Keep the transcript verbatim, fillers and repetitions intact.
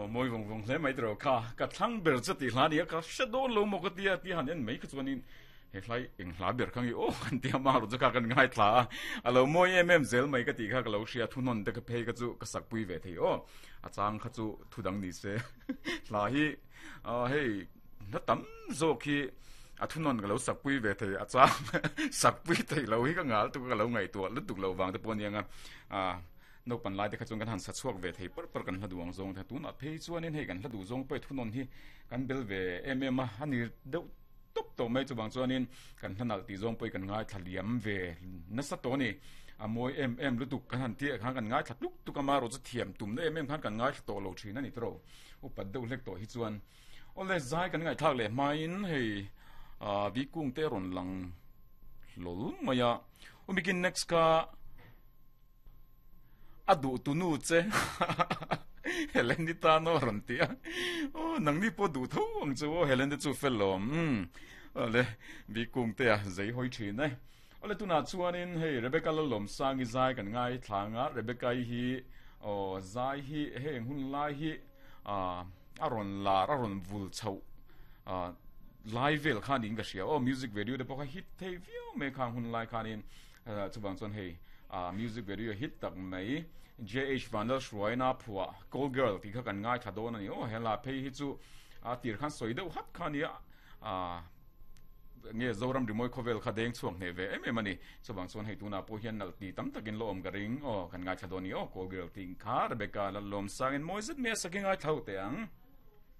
Aw mawi vawng vawng hle mai tiraw kha ka thlang ber che tih hla nia ka hre dawn lo maw ka tia ti han en mai kha chuanin he hlai eng hla ber kha nge aw kan tia ma rawh chu kha kan ngaithla a a lo mawi em em zel mai ka tih kha ka lo hria thunawn te ka phei kha chu ka sakpui ve thei aw a chang kha chu thu dang ni se hla hi hei hla tam zawk hi a thunawn ka lo sakpui ve thei a chang sakpui thei lo hi ka ngal tuk ka lo ngaihtuah lutuk lo vang te pawh aniang a Naupan lai te kha chuan kan han sa chhuak ve thei par par kan hla duh ang zawng te tunah phei chuanin hei kan hla duh zawng pawh thunawn hi kan bel ve em em a a ni deuh tawp tawh mai chuvang chuanin kan hla nalh tih zawng pawh hi kan ngaithla liam ve nasa tawh a ni a mawi em em lutuk kan han tih ah khan kan ngaithla tluk tluk a marawh chu thiam tumna em em khan kan ngaithla tawh lo thin a ni tawh upat deuh hlek tawh hi chuan awle zai kan ngaihthlak leh hmain hei ah bikung te a rawn lang hlawl mai a umikin next kha A duh tu nu che Helen i tan aw rawn ti a, aw nangni pawh duh tho ang chu aw Helen te chu fel awm umm awle Bikung te a zei hawi thin e. Awle tunah chuanin hei Rebecca Lalawmsangi zai kan ngaithla ang a, Rebecca i hi aw zai hi heng hun lai hi ah a rawn lar a rawn vul chhoh ah lai vel kha niin ka hria aw music video te pawh kha hit thei viau mai khang hun lai khanin Chuvang chuan hei music video hit tak mai J H Vanlalhruaina phuah Call Girl tih kha kan ngaithla dawn a ni aw. Hela phei hi chu a tir khan sawi deuh hat kha a nia nge Zoram Rimawi khawvel kha deng chhuak hneh ve em em a ni. Chuvang chuan hei tunah pawh hian nalh ti tam takin la awm ka ring aw. Kan ngaithla dawn a ni aw Call Girl tih kha Rebecca Lalawmsangin mawi zet mai a sakin ngaithla ho teh ang.